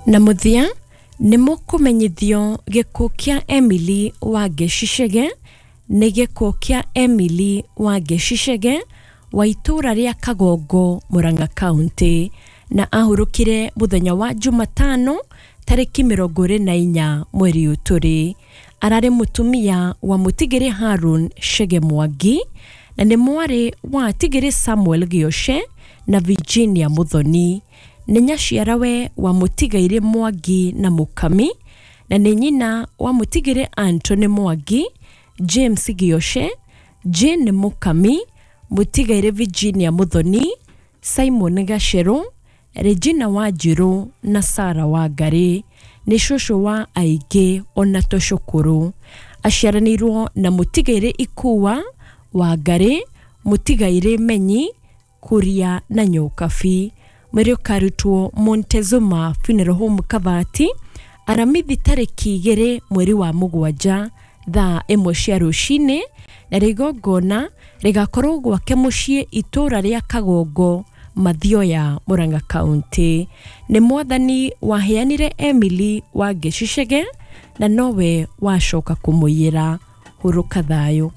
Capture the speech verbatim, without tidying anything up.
Na mũthia nĩ mũkũmenyithio gĩkuũ kĩa Emily Wangeci Chege. Nĩ gĩkuũ kĩa Emily Wangeci Chege wa itũũra rĩa Kagongo, Murang'a County, na ahurũkire mũthenya wa Jumatano tarĩki mĩrongo ĩrĩ na inya mweri ũyũ tũrĩ. Ararĩ mũtumia wa mũtigĩrĩ Harun Chege Mwangi na nĩ mwarĩ wa atigĩrĩ Samuel Gĩoce na Virginia Muthoni. Nĩ nyaciarawe wa mũtigairĩ Mwangi na Mũkami na nĩ nyina wa mũtigĩrĩ Anthony Mwangi, James Gĩoce, Jane Mũkami, mũtigairĩ Virginia Muthoni, Simon Gacerũ, Regina Wanjirũ na Sarah Wangarĩ. Nĩ cũcũ wa aingĩ ona tũcũkũrũ. Aciaranĩirwo na mũtigairĩ Ikua Wangarĩ, mũtigairĩ Menyi, Kuria na Nyokabi. Mwĩrĩ ũkarutwo Montezuma Funeral Home, Kabati, Aramithi tarĩki igĩrĩ mweri wa mũgwanja thaa ĩmwe cia rũcinĩ, na rĩgongona rĩgakorwo gwake mũciĩ itũũra rĩa Kagongo, Mathioya, Murang'a County. Nĩ Mwathani waheanire Emily Wangeci Chege na nowe wacoka kũmũiyĩra. Hurũka thayũ.